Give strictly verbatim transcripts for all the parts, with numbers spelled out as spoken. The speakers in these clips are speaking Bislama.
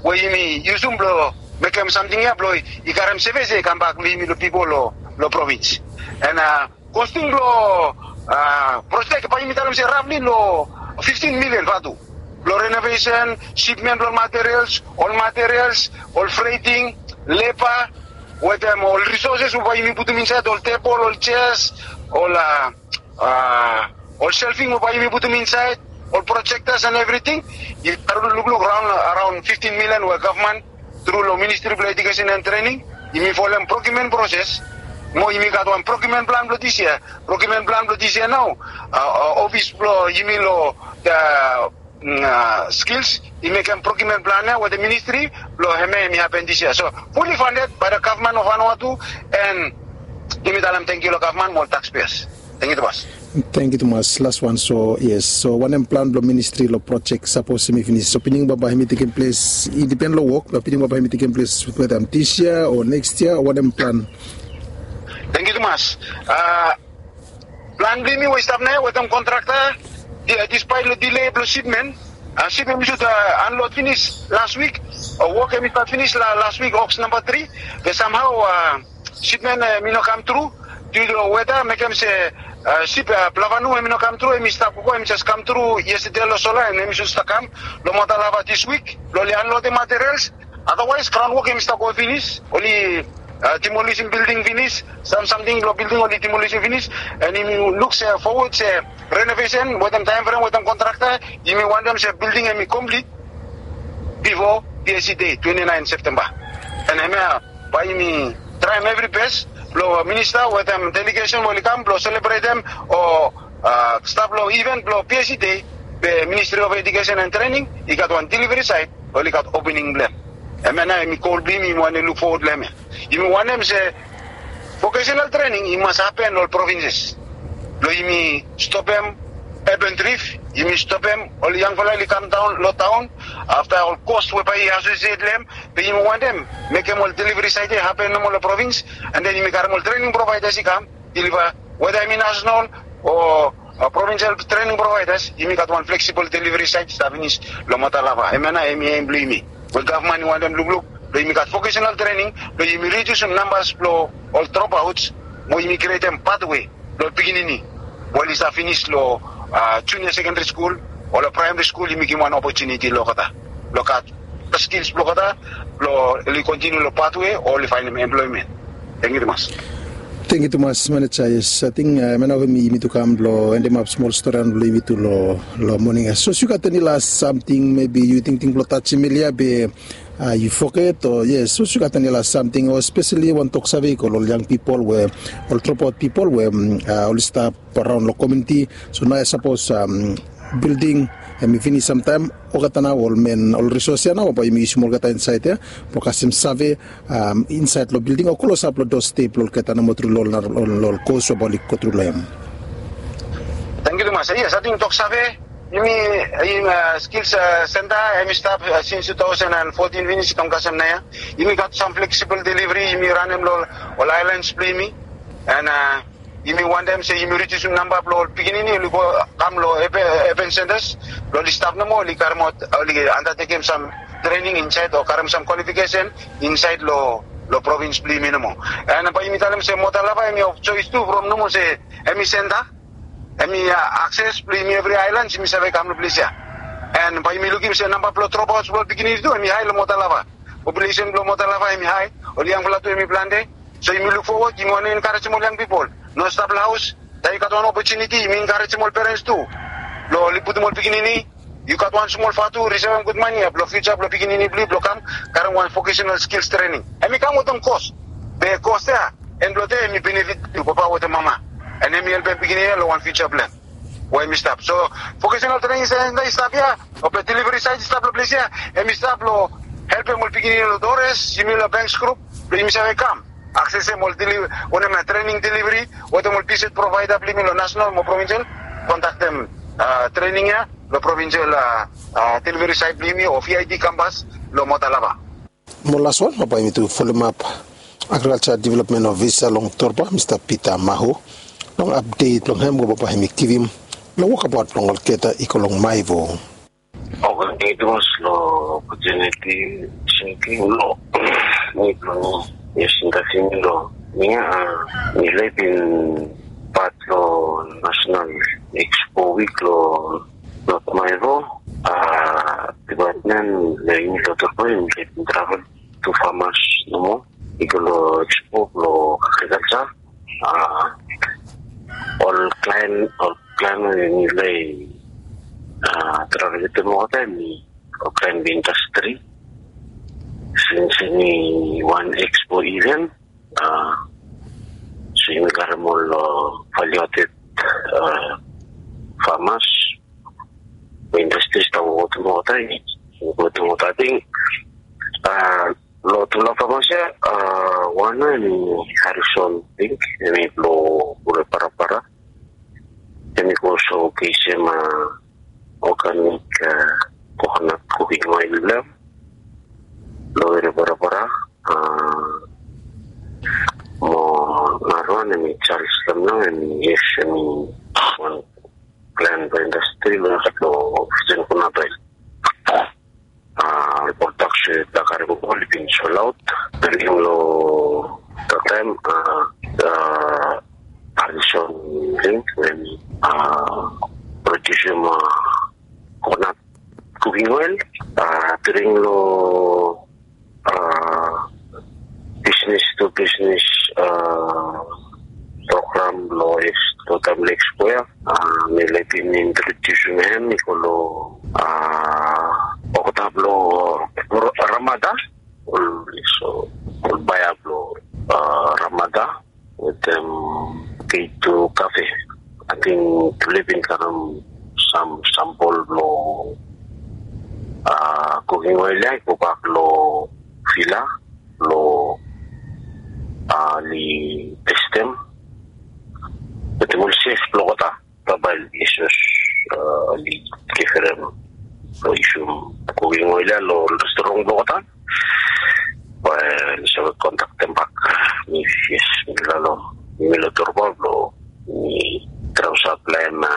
we yumi yusum blong mekem samting ya blong i karem sevis ya i kambak long yumi long pipol long provins. And kosting blong projek bae yumi talem se rafli long fiftin milian vatu, blong renovesen, sipmen blong materials, ol materials, ol freting, leba, wetem ol risoses we bae yumi putum insaed, ol tebol, ol jeas, ol ol shelving we bae yumi putum insaed, ol projektas and evriting. I lukluk raon fiftin milian we gavman tru long ministri blong ejukesen and trening, yumi folem prokiumen proses. Mo yumi gat wan prokiumen plan blong dis yia. Prokiumen plan blong dis yia nao, ofis blong yumi long skils i mekem prokiumen plan ya wetem ministri blong hemia hemi hapen dis yia. So fuli fanded bae da gavman of Vanuatu. And yumi talem tangkiu long gavman mo ol takspeas. Tangkiu tumas. Tangkiu tumas. Las wan, so yes, so wanem plan blong ministri long projek sapos hemi finis? So pining bambae hemi tekem ples, i dipen long wok, bat pining bambae hemi tekem ples wetem dis yia o neks yia o wanem plan? Tangkiu tumas. Plan blong yumi we i stap nao wetem kontrakta, dispaet long dile blong sipmen, sip hemi sud anlod finis las wik. Wok hemi stat finis las wik, oks namba tri. Be samhao sipmen hemi no kam tru, diu long weda mekem se sip plavanu hemi no kam tru. Hemi stap gogo, hemi jes kam tru yestede long sola and hemi sud stap kam long Motalava dis wik blong oli anlodem materials. Adawaes graon wok hemi stap go finis, oli demolisim bilding finis, sam samting blong bilding oli demolisim finis. And yumi luk se fowod se renovesen wetem taem frem wetem kontrakta, yumi wantem se bilding hemi komplit bifo PSC dei twenti naen Septemba. And hemia bae yumi traem evri bes blong minista wetem delegesen we oli kam blong selebretem o stap long iven blong PSC dei, be Ministri of Ejukesen and Trening i gat wan deliveri saet, oli gat opening blong hem. Hemia nao hemi gol blong yumi, yumi wantem luk fowod long hemia. Yumi wantem se vokesenal trening i mas hapen long ol provinses blong yumi stopem urban drift, yumi stopem ol yangfala oli kam daon long taon afta ol kos we bae i asosiet long hem. Be yumi wantem mekem ol deliveri saet ya i hapen nomo long provins, and then yumi karem ol trening provaidas i kam deliva, weda hemi nasenal o provinsel trening provaidas. Yumi gat wan fleksibol deliveri saet i stap finis long Motalava. Hemia nao hemi em blong yumi we gavman i wantem lukluk blong yumi gat vokesenal trening blong yumi ridiusim nambas blong ol dropaots mo yumi krietem patwe blong ol pikinini we oli stap finis long junia sekendri skul o long praemari skul. Yumi givim wan opotuniti long olgeta blong gat skils blong olgeta blong oli kontiniu long patwe o oli faenem emploemen. Tangkiu tumas. Tangkiu tumas maneja. Yes, ating hemia nao hemi yumi tu kam blong endemap smol storian blong yumi tu long moning ya. Sapos yu gat eni las samting mebi yu tingting blong tajem elia be yu foget, o yes, sapos yu gat eni las samting o speseli wan toksave i go long ol yang pipol we, ol dropout pipol we oli stap araon long komuniti. So naoia sapos bilding hemi finis samtaem, olgeta nao ol men, ol risos ya nao bae yumi yusim olgeta insaed ya blong kasem save insaed long bilding o klosap long dos step blong olgeta nomo tru long ol kos we bae oli go tru long hem. Tangkiu tumas. Yes, ating toksave, yumi, skils senta hemi stap sins tu taosen and fotin finis i kam kasem naoia. Yumi gat sam fleksibol deliveri yumi ranem long ol aelans blong yumi. And yumi wantem se yumi ridiusim namba blong ol pikinini oli go kam long urban sentas blong oli stap nomo, oli karemaot, oli andatekem sam trening insaed o karem sam kwalifikesen insaed long provins blong yumi nomo. And bae yumi talem se Motalava hemi of joes tu from nomo se hemi senta, hemi akses blong yumi evri aelans yumi save kam long ples ya. And bae yumi lukim se namba blong dropaots blong ol pikinini tu hemi hae long Motalava. Populesen blong Motalava hemi hae, ol yangfala tu hemi plante. So yumi luk fowod, yumi wantem enkarejem ol yang pipol no stap long haos. Taem yu gat wan opotuniti yumi enkarejem ol perens tu blong oli putum ol pikinini. Yu gat wan smol vatu, risevem gud mane ya blong fiuja blong pikinini blong yu blong kam karem wan vokesenal skils trening. Hemi kam wetem kos, be kos ya en blong de hemi benefit blong yu papa wetem mama. And hemi helpem pikinini ya long wan fiuja blong hem we hemi stap. So vokesenal trening senta i stap ya, o be deliveri saet i stap long ples ya, hemi stap blong helpem ol pikinini long Torres, yumi long Banks Group, blong yumi save kam aksesem ol wanem ya, trening deliveri wetem ol visit provaeda blong yumi long nasenal mo provinsel. Kontaktem trening ya long provinsel deliveri saet blong yumi o VID kampas long Motalava. Mo las wan, bae yumi tu folomap agrikalja developmen ofisa long Torba, Mista Pita Maho, long apdet blong hem we bae hemi givim long wokabaot blong olgeta i go long Maevo. Oke, tangkiu tumas long Opportunity seeking lo mi blong mi. Yes, interview mi lo mi a mi laik bin pat lo National Expo Week lo North Maivo. A department lo yumi lo Torpo yumi laik bin travel to farmers nomo i go lo expo lo agriculture. A ol client ol client we yumi laik a travel wetem olgeta hemi ol client blong industry. Since hemi wan expo event, a so yumi karem ol value added farmers we industry i stap wok wetem olgeta. Wok wetem olgeta, ating a lo tufala farmers ya, a wan hemi Harrison Pink, hemi blo Ure Parapara. Hemi go showcasem a organic coconut cooking oil blong hem lo Ure Parapara. A mo narawan hemi Charles Lamlong, hemi yes hemi wan client blong industry lo fishery coconut oil. A ol products we tufala karem oli bin sold out. Tanem lo tufala taem a Harrison Pink we hemi a produce a coconut cooking oil. A tanem lo a business to business a program lo East Totam Lake Square. A mi laik bin introdusim hem i go lo a olgeta blo Ramada, ol so ol baea blo a Ramada wetem K two Cafe. Ating tufala i bin karem sam sampol blo a cooking oil ya i gobak lo villa blo a oli testem wetem ol chef blo olgeta. Bambae oli sus a oli givim lo yusum cooking oil ya lo restaurant blo olgeta. Bae oli save kontaktem bak mi. Yes, mi lalo mi lo Torpo blo mi traem saplaem a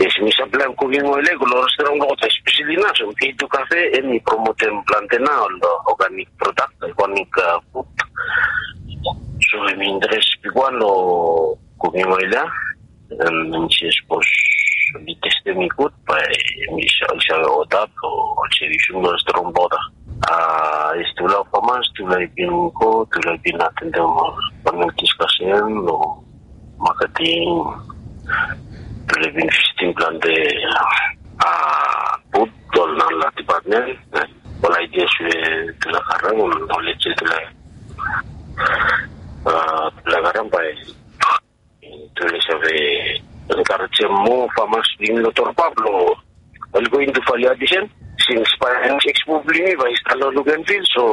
yes mi saplaem cooking oil ya i go lo restaurant blo olgeta, especially nao so K two Cafe hemi promotem plante nao ol organic product, organic food. So hemi interes bigwan lo cooking oil ya. Em, hemi se sapos oli testem i gud bae hemi save, oli save oda blo oli save yusum lo restaurant blo olgeta. A yes, tufala farmers tufala i bin go, tufala i bin atendem ol panel discussion lo marketing. Tufala i bin visitim plante a booth lo ol narafala department. Ol ideas we tufala karem, ol knowledge we tufala a tufala karem bae tufala i save encouragem moa farmers blong yumi lo Torpo blo oli go into value addition. Since bae next expo blong yumi bae i stap lo look and feel, so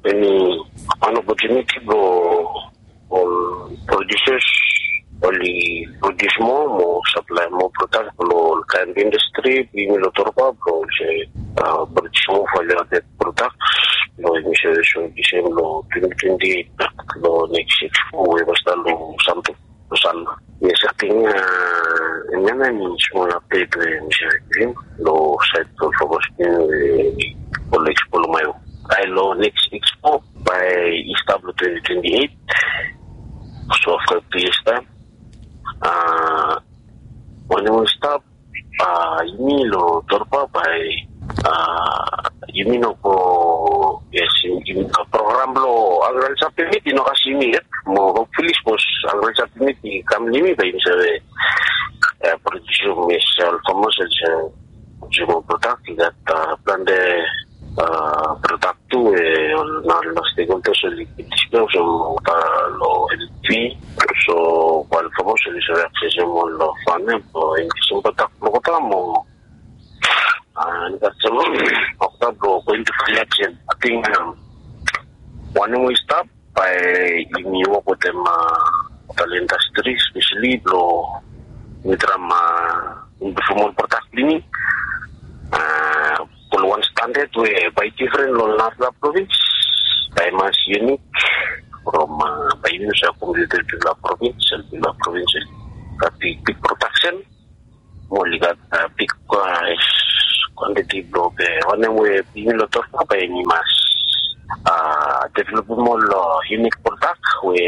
hemi wan opportunity blo ol producers oli produce moa mo saplaem moa product lo ol kaen industry blong yumi lo Torpo blo oli save produce moa value added products blo yumi save showcasem lo twenty twenty-eight lo next expo we bae stap lo Santo. Yes, ating hemia nao hemi smol update we mi save givim lo saed blo ol farmers blong yumi we ol expo lo Maivo. Ae lo next expo bae i stap lo twenty twenty-eight, so afta tu years taem. A wanem we i stap, a yumi lo Torpo bae a yumi no go, yes, yumi, program blo agriculture permit i no kasem yumi yet. Mo hopefully sapos agriculture permit i kam lo yumi bae yumi save produce, yes, ol farmers oli save produce moa product. I gat plante product tu we ol narafala stakeholders oli bin discuss olgeta lo L P. So bae ol farmers oli save access ol farm ya blo increase product blo olgeta mo increase olgeta blo go into value addition. Ating wanem we i stap bae yumi wok wetem ol industry especially blo yumi traem improve ol product blong yumi go lo wan standard we bae i difren lo narafala province. Bae i mas unique from bae yumi save compete wetem tufala province, tufala province gat big, big production. Mo oli gat big, yes, Ande ti blo be wanem we bigin lo tok na bae yumi mas developem ol unique product we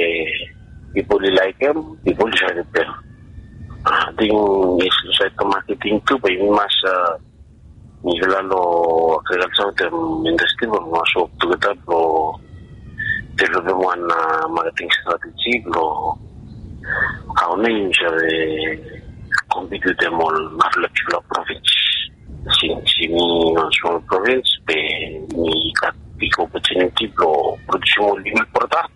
pipol i laekem, pipol i save pem. Ating insaed long marketing tu bae yumi mas mifala lo agrikalsa wetem indastri bae yumi mas wok tugeta blo developem wan marketing strateji blo hao nao yumi save kompit wetem ol narafala bigfala provins. Sins yumi wan smol provins be yumi gat big opotuniti blo produsim ol unique product.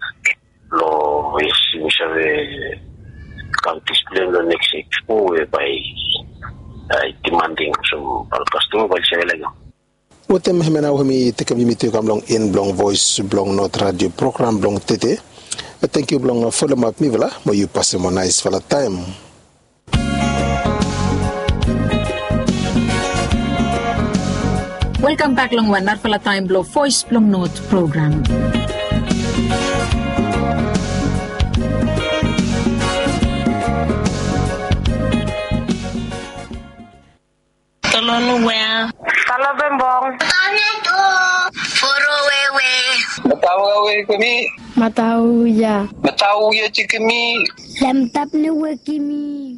Lo yes yumi save kam displei lo next expo we bae i demanding olsem ol kastoma bae oli save laekem. Wetem hemia nao we mi tekem yumi tu i kam long en blong Voes blong Not Radio program blong tede. Tangkiu blong folomap mifala mo yu pasem wan naesfala taem. Welkam bak long wan narafala taem blong Voes blong Not program. Tolonu wea. Talo bembong. Tane tu. Foro wewe. Matau wewe kemi. Matau ya. Matau ya cikemi. Lamtap ne wekimi.